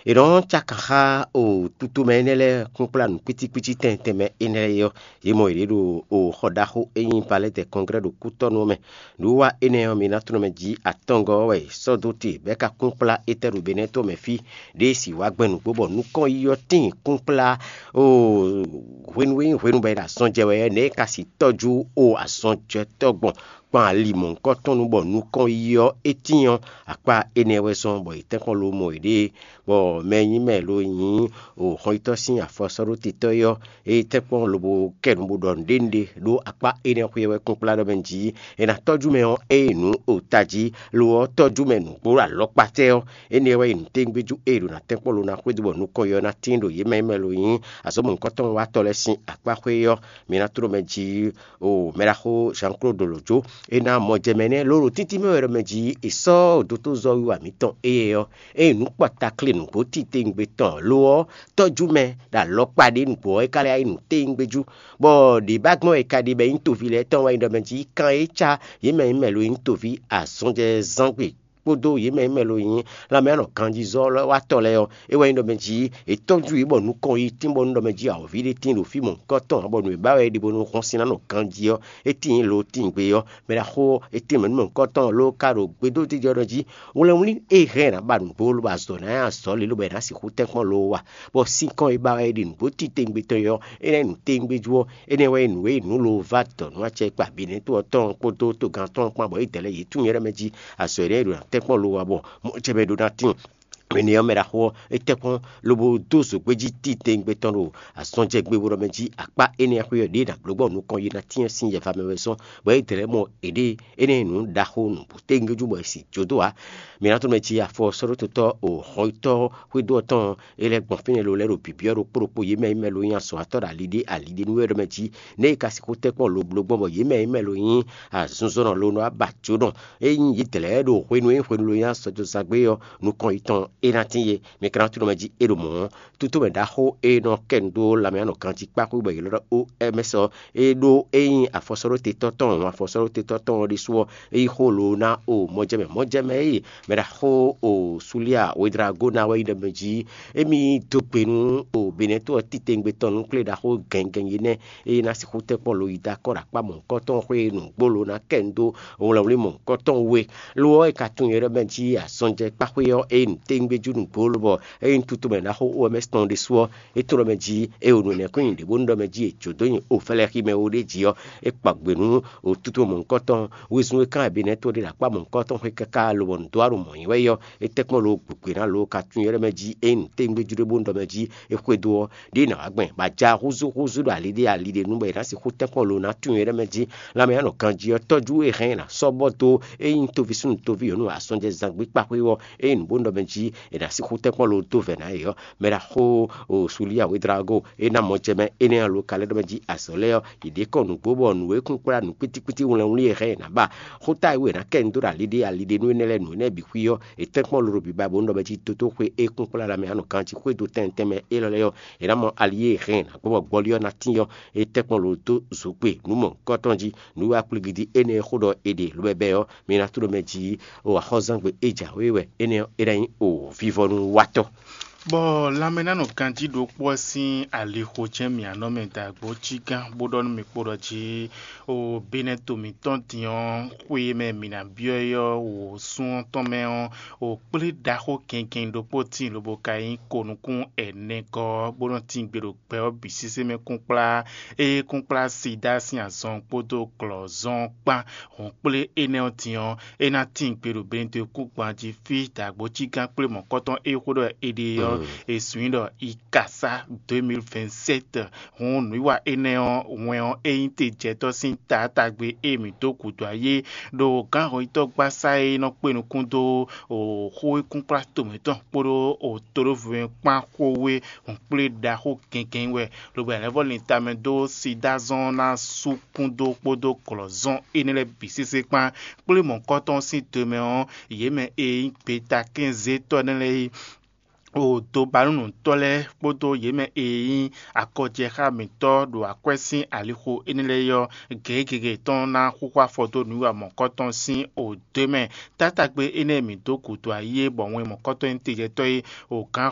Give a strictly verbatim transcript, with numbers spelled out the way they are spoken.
È nɔ́ cákan xá o tutomɛ énɛ́ lɛ́ɛ kúnkplá nǔkpítíkpítí tɛntɛnmɛ énɛ́ lɛ́ɛ ɔ́, yě mɔ yě ɖo o xɔ ɖaxó e nyí Palɛ́tɛ Kɔnglɛ́ ɖo kútɔ́nú ɔ́ mɛ. Nǔwiwa énɛ́ ɔ́, mi ná tunwun mɛ jí atɔngɔ́ ɔ́ wɛ è sɔ́ dó te bɔ é ka kúnkplá étɛ́ ɖo Benɛ́to mɛ fí, ɖěe sì wá gbɛn nǔgbó bɔ nukɔn yi ɔ́ tíin kúnkplá o hwenu e nyí hwenu bɔ è ɖo azɔn jɛ wɛ ɔ́, nɛ̌ è ka si tɔ́jú o azɔnjɛtɔ́ gbɔn kpan ali mɔ̌hunkɔtɔn nu bɔ nukɔn yi ɔ́ é tíin ɔ́, akpá énɛ́ wɛ zɔ́n bɔ è tɛ́nkpɔ́n ló mɔ yěɖée, bɔ mɛ e nyí mɛ lo nyí o xɔnyitɔ́ sín afɔsɔ́ɖótetɔ́ é ɔ́, é tɛ́nkpɔ́n lobo kɛ nu bó ɖɔ nǔɖé nǔɖé ɖó akpá énɛ́ xwé ɔ́ wɛ kúnkplá ɖɔ mɛ jí è nǎ tɔ́jú mɛ ɔ́ ée nǔ o tají, lo ɔ́ tɔ́jú mɛ nǔgbó alɔkpatɛ́ ɔ́, énɛ́ wɛ nyí nǔtɛ́ngbéjú e è ɖo ná tɛ́nkpɔ́n lo ná xwedó bɔ nukɔn yi ɔ́ ná tíin ɖo yě mɛ e mɛ lo nyí azɔ̌ mɔ̌hunkɔtɔn watɔ́ lɛ́ɛ sín akpá xwé ɔ́. Mi ná tló mɛ jí o mɛɖaxó Jean-Claude Lodjo. È nǎ mɔ jɛ mɛ nɛ́ lóɖo títí mɛ wɛ ɖɔ mɛ jí è sɔ́ dotózɔ́wiwa mǐtɔn éyɛ́ ɔ́, ényí nǔ kpɔta klé nǔgbó titewungbe tɔn lo ɔ́, tɔ́jú mɛ ɖo alɔkpa ɖé nǔgbó ɔ́, é ka lɛ́ yá yi nǔtewungbe jú, bɔ ɖě ba gbɔn wɛ è ka ɖe bɔ é nyí toví lɛ́ɛ tɔn wɛ nyí ɖɔ mɛ jí kan e cá yě mɛ nyí mɛ lo nyí toví azɔnjɛzángbe kpódó yě mɛ e mɛ lo nyí lanmɛ anɔ ganjizɔ́watɔ́ lɛ́ɛ ɔ́, é wɛ nyí ɖɔ mɛ jí è tɔ́jú yě bɔ nukɔn yi tín bɔ nú ɖɔ mɛ jí awɔ̌ví ɖé tín ɖo fí mɔ̌hunkɔtɔn, bɔ nǔ e ba wɛ é ɖe bónú hɔn sín ná nɔ ganjí ɔ́, é tíin lo tíin gbe ɔ́, mɛ ɖaxó ɔ́, é tíin mɛ nú mɔ̌hunkɔtɔn ló ka ɖo gbedójijɛ ɖɔ jí wlɛnwlí e hɛn è nǎ ba nǔgbó lobo azɔ̌ ná nyi azɔ̌ lě lobo è nǎ sixú tɛ́nkpɔ́n lo wa, bɔ sinkɔn e ba wɛ é ɖi nǔgbó titewungbe tɔn ɔ́, é ná nyí nǔtewungbe jú ɔ́, énɛ́ wɛ nyí nǔ e nǔ lo va dɔ̌ nú acɛ kpa Benɛ́to ɔ́ tɔn kpódó togán tɔn kpán, bɔ é dɛ̌ lɛ́ yě tunwun nyɛ ɖɔ mɛ jí azɔ̌ énɛ́ e ɖo ná tɛ́nkpɔ́n lo wa bɔ mɔ̌ jɛ mɛ ɖó ná tíin. Énɛ́ ɔ́, mɛ ɖaxó ɔ́, é tɛ́nkpɔ́n lobo dó zǒgbéjí titewungbe tɔn ɖo azɔn jɛ gbe bó ɖɔ mɛ jí akpá énɛ́ xwé ɔ́ ɖě ná bló gbɔ nukɔn yi ná tyɛ́n sín yɛva mɛ wɛ zɔ́n, bɔ é dlɛ̌ mɔ èɖée énɛ́ nǔ ɖaxó nǔgbó tɛ́ngbéjú bɔ è sì jó dó ǎ. Mi ná tunwun mɛ jí afɔsɔ́ɖótɔ́ o xɔyítɔ́ xwédó ɔ́ tɔn é lɛ́ gbɔn fínɛ́ lo lɛ́ ɖo bǐbyɔ́ ɖokpó ɖokpó yě mɛ e mɛ lo nyí azɔ̌watɔ́ ɖo ali ɖé ali ɖé nú wɛ ɖɔ mɛ jí nɛ̌ è ka sixú tɛ́nkpɔ́n lo bló gbɔn bɔ yě mɛ e mɛ lo nyí azinzɔnnɔ lo nɔ wá ba jǒnɔ. Ényí yě dlɛ̌ ɖo hwenu e hwenu lo nyí azɔ̌ dó zán gbé ɔ́, nukɔn yětɔn é ná tín yé. Mi ka ná tunwun mɛ jí é ɖo mɔ̌ ɔ́, tútúmɛ ɖaxó e nɔ kɛ nu dó lanmɛ nɔ ganjí kpákpú bɔ è ylɔ́ ɖɔ O M S ɔ́, é ɖó ényí afɔsɔ́ɖótetɔ́ tɔn, afɔsɔ́ɖótetɔ́ tɔn ɔ́ ɖésú ɔ́, é yí xó lo ná o mɔjɛmɛ mɔjɛmɛ e mɛ ɖaxó o Sulia Wedrago ná wɛ nyí ɖɔ mɛ jí émí dó gbe nú o Benɛ́to ɔ́ titewungbe tɔn nú kplé ɖaxó gɛngɛn yi nɛ́ e ná sixú tɛ́nkpɔ́n lo yi dó akɔ́ ɖo akpá mɔ̌hunkɔtɔn xwé nǔgbó lo ná kɛ nu dó wlɛnwlí mɔ̌hunkɔtɔn we. Lo ɔ́, è ka tunwun nyɛ ɖɔ mɛ jí azɔnjɛkpáxwé ɔ́, ényí nǔtewungbe jú nǔgbó lobɔ ényí tutu mɛ ɖaxó O M S tɔn ɖésú ɔ́, é tlɔ́ mɛ jí é o nǔ énɛ́ kɔn nyi ɖě bónú ɖɔ mɛ jí è jǒ dó nyi o fɛlɛxi mɛ o ɖé jí ɔ́, é kpa gbe nú o tutu mɔ̌hunkɔtɔn wezun e kán Benɛ́to ɖe ɖo akpá mɔ̌hunkɔtɔn xwé káká lobɔ nǔ dó aɖo mɔ̌ nyi wɛ é ɔ́, é tɛ́nkpɔ́n lo gběgbě ná lo ka tunwun nyɛ ɖɔ mɛ jí ényí nǔtewungbe jú ɖé bónú ɖɔ mɛ jí é xwedó ɔ́, ɖěe nǎ wá gbɛn, bɔ a ja húzú húzú ɖo ali ɖé ali ɖé nu bɔ è nǎ sixú tɛ́nkpɔ́n lo ná tunwun nyɛ ɖɔ mɛ jí lanmɛ ná nɔ ganjí ɔ́ tɔ́jú e hɛn è nǎ sɔ́ bɔ dó ényí toví súnnu toví yɔ̌nu asɔnjɛzán gbé kpáxwé ɔ́, ényí nǔ bó nɔ mɛ jí è nǎ sixú tɛ́nkpɔ́n lo dó vɛ̌ ná yě ɔ́, mɛ ɖaxó o Sulia Wedrago é ná mɔ jɛ mɛ énɛ́ ɔ́ lo ka lɛ́ ɖɔ mɛ jí azɔ̌ lɛ́ɛ ɔ́, yě ɖě kɔn nǔgbó bɔ nǔ e kún kplá nǔ kpítíkpítí wlɛnwlí e hɛn è nǎ ba. Xóta e wú è nǎ kɛ nyi dó ɖo ali ɖé ali ɖé nú énɛ́ lɛ́ɛ nǔ énɛ́ bǐ xwí ɔ́, è tɛ́nkpɔ́n lolo bǐ ba bó nɔ mɛ jí dódó xwé e kún kplá lanmɛ anɔ ganjí xwé dó tɛnmɛ tɛnmɛ élɔ́ lɛ́ɛ ɔ́, è nǎ mɔ ali e hɛn è nǎ gbɔn bɔ gbɔlí ɔ́ ná tín ɔ́, é tɛ́nkpɔ́n lo dó zǒgbe nǔ mɔ̌hunkɔtɔn jí. Nǔ e akplígídí énɛ́ e xó ɖɔ è ɖe lobɛbɛ ɔ́, mi ná tló mɛ jí o axɔ́zangbe e jǎwe wɛ énɛ́ ɔ́, é ná nyí o vivɔnu watɔ́. Bɔ lanmɛnánɔ ganjí ɖokpó ɔ́ sín alixo jɛ́n mǐ anɔ mɛ dǎgbó cí gán bó ɖɔ nú mì kpo ɖɔ jí o Benɛ́to mǐtɔn din ɔ́, xwe e mɛ mǐ ná byɔ́ é ɔ́, wǒ sún ɔ́ tɔn mɛ ɔ́, o kplé ɖaxó gɛngɛn ɖokpó tíin lobo ka nyí ko nukún ɛnɛgɔ́ ɔ́, bó nɔ́ tín gbe ɖo gbɛ ɔ́ bǐ sésé mɛ kúnkplá, ée kúnkplá Sidáa sín azɔn kpódó glɔ̌zɔn kpán. Hɔ̌nkplé énɛ́ ɔ́ din ɔ́, é ná tíin gbe ɖo Benɛ́to kúngban jí fí dǎgbó cí gán kplé mɔ̌kɔtɔn e xó ɖɔ è ɖe ɔ́, è sun i ɖɔ Ikasá deux mille vingt-sept. Hǔn nǔwiwa énɛ́ ɔ́, wɛn ɔ́, é nyí te jɛtɔ́ sín taatagbe e mǐ dó gǔdo ayé ɖo gǎnhɔnyitɔ́gbasá e nɔ kpé nukún dó xó e kúnkplá tomɛ tɔn kpódó todóvo kpán xó wé hɔ̌nkplé ɖaxó gɛngɛn wɛ, lobo è nǎ vɔ́ lin tamɛ dó Sidáa zɔn ná sú kún dó kpódó glɔ̌zɔn énɛ́ lɛ́ɛ bǐ sésé kpán, kplé mɔ̌kɔtɔn sín do mɛ ɔ́, yě mɛ e nyí gbetakɛ́nzétɔ́ énɛ́ lɛ́ɛ é, o dobanúnǔtɔ́ lɛ́ɛ kpódó yě mɛ e nyí akɔjɛxá mǐtɔn ɖo akwɛ́ sín alixo énɛ́ lɛ́ɛ ɔ́, gěgé tɔn ná xúxú afɔ dó nǔwiwa mɔ̌kɔtɔn sín o do mɛ. Taátagbe énɛ́ e mǐ dó gǔdo ayé bɔ wɛn mɔ̌kɔtɔn nyí tejɛtɔ́ é, o gǎn